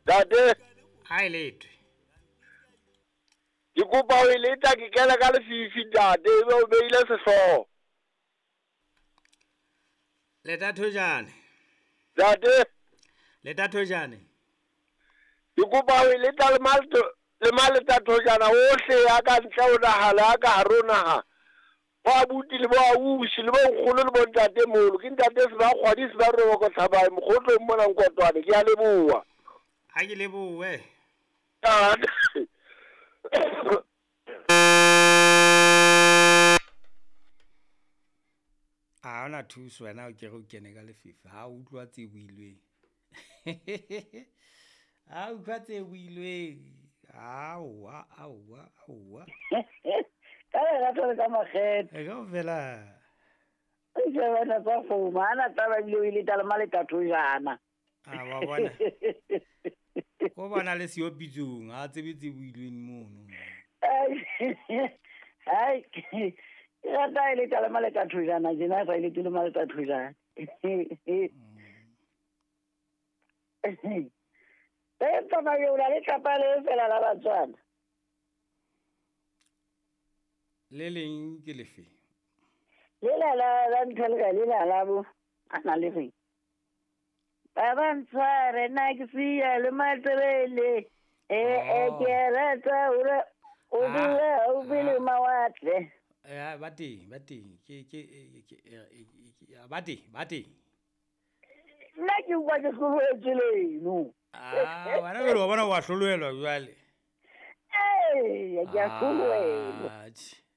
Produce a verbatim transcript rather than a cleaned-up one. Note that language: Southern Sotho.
Tate. Ha e letwe. Ke kopa ho e leta ke kena ka lefifi ntate, ebe o beile sehlooho. Leta thojane. Ntate. Leta thojane. Ke kopa ho e leta le malto le maleta thojana ohle ya ka ntle ho naha le ya ka hare ho naha. Bo abuti le bo ausi le bo nkgono le bo ntate moholo. Ke ntate Sebakgwadi Sebaroboko Tlhabae mokgotlong mona Nkotwane. Ke a leboha. Ha ke lebohe. A hona thuso wena o kere o kene ka lefifi. Ha o utlwa tse builweng. Ha utlwa tse builweng. Aowa, aowa, aowa. Ka lerato le ka makgethe. E kaofela. E shebana tsa kgomo, ha na taba ebile o ile tala maleta thojana. A wa bona. Ko bona le siyo pitsong, ha tsebe tse builweng mono. Hai, ke rata e le tala maleta thojana, tjena sa ile tele maleta thojana. Empa Majola le tlapa le fela la Batswana. Le leng ke lefe? Le la la la ntho le le la la bo a na le reng. Ba ba ntshware nna ke siya le matsebele. E e ke rata hore o dule haufi le mawatle. Eh ba teng, ba teng. Ke ke ke ba teng, ba teng. Nna ke utlwa ke hlolohetswe leno. Ah, wena jwale wa bona wa hlolohelwa jwale. Ee, ke a hlolohelwa.